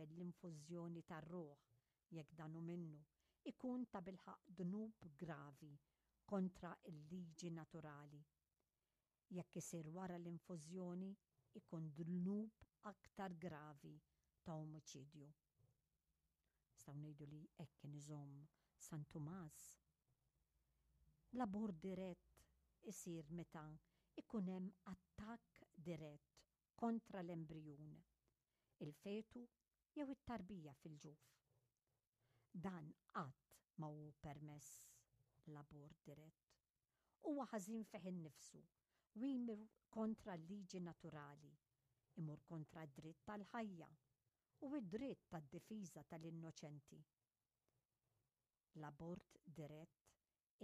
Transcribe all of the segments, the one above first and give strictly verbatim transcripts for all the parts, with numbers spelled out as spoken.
qabel l-infużjoni tar-ruħ, jekk dan hu minnu, ikun tabilħaqq dnub gravi kontra l-liġi naturali. Jekk isir wara l-infużjoni, ikun dnub aktar gravi ta' omiċidju. Nistgħu ngħidu li hekk kien iżomm San Tumas. L-abort dirett isir meta ikun hemm attakk dirett kontra l-embrijun, il-fetu jew it-tarbija fil-ġuf. Dan qatt ma hu permess, l-abort dirett. Huwa ħażin fih innifsu u jmur kontra l-liġi naturali, imur kontra d-dritt tal-ħajja u id-dritt tad-difiża tal-innoċenti. L-abort dirett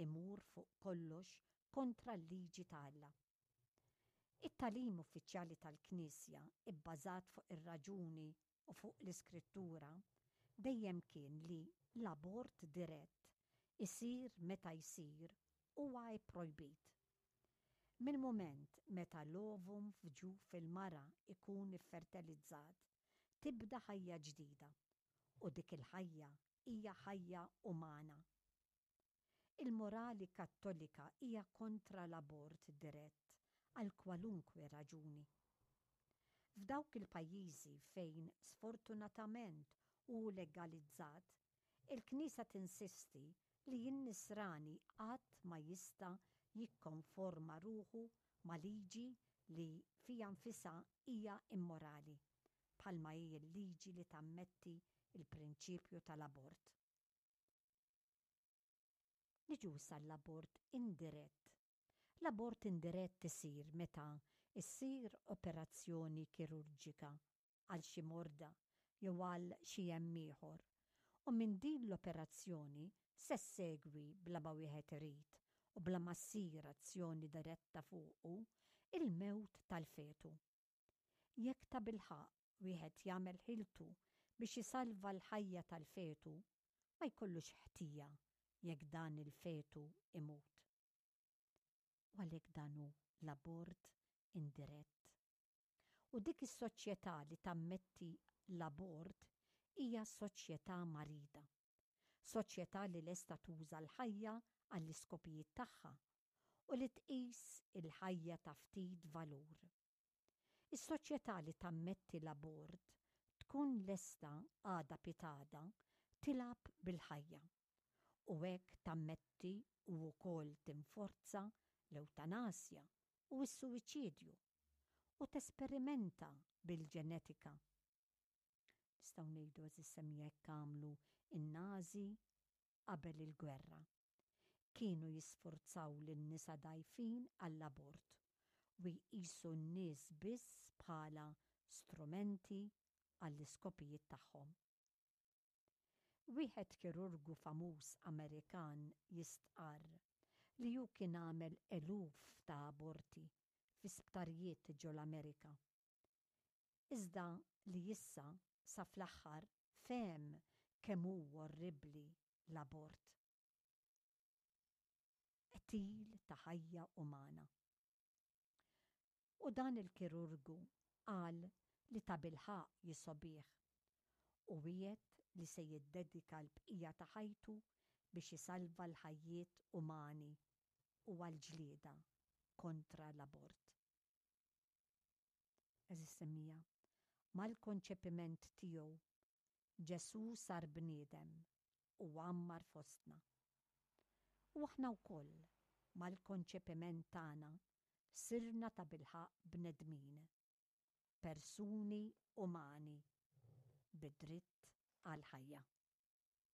imur fuq kollox kontra l-liġi ta' Alla. It-tagħlim uffiċjali tal-Knisja, ibbażat fuq ir-raġuni u fuq l-Iskrittura, dejjem kien li l-abort dirett, isir meta jsir, huwa pprojbit. Mill-mument meta l-ovum f'ġuf il-mara ikun iffertilizzat, tibda ħajja ġdida u dik il-ħajja hija ħajja umana. Il-morali Kattolika hija kontra l-abort dirett għal kwalunkwe raġuni. F'dawk il-pajjiżi fejn sfortunatament hu legalizzat, il-Knisja tinsisti li n-Nisrani qatt ma jista' jikkonforma ruħu ma' liġi li fiha nfisha hija immorali, bħalma hi l-liġi li tammetti il-prinċipju tal-abort. Niġu sal-abort indirett. L-abort indirett isir meta issir operazzjoni kirurġika għal xi morda jew għal xi hemm ieħor, u minn din l-operazzjoni se ssegwi, bla ma wieħed irid u bla ma ssir azzjoni diretta fuqu, il-mewt tal-fetu. Jekk tabilħaqq wieħed jagħmel ħiltu biex isalva l-ħajja tal-fetu, ma jkollux ħtija jekk dan il-fetu imut. U għalhekk dan hu l-abort indirett. U dik is-soċjetà li tammetti l-abort hija soċjetà marida. Soċjetà li lesta tuża l-ħajja għall-iskopijiet tagħha u li tqis il-ħajja ta' ftit valur. Is-soċjetà li tammetti l-abort tkun lesta għada pitgħada tilgħab bil-ħajja u hekk tammetti u wkoll tinforza l-ewtanasja u s-suwiċidju u tesperimenta bil-ġenetika. Nistgħu ngħidu, għeżież semmiegħa, hekk għamlu in-Nazi qabel il-gwerra. Kienu jisforzaw lin-nisa dgħajfin għall-abort u jqisu n-nies biss bħala strumenti għall-iskopijiet tagħhom. Wieħed kirurgu famuż Amerikan jistqarr li hu kien għamel eluf ta' aborti fi sptarijiet ġol-Amerika. Iżda li issa sa fl-aħħar fehem kemm hu orribli l-abort. Qtil ta' ħajja umana. U dan il-kirurgu qal li tabilħaqq jisgħobih u wiegħed li se jiddedika l-bqija ta' ħajtu biex isalva l-ħajjiet umani u għal-ġlieda kontra l-abort. Għeżież semmiegħa, mal-konċepiment tiegħu Ġesù sar bniedem u għammar fostna. U aħna wkoll mal-konċepiment tagħna sirna tabilħaqq bnedmin, persuni umani bid-dritt għal-ħajja.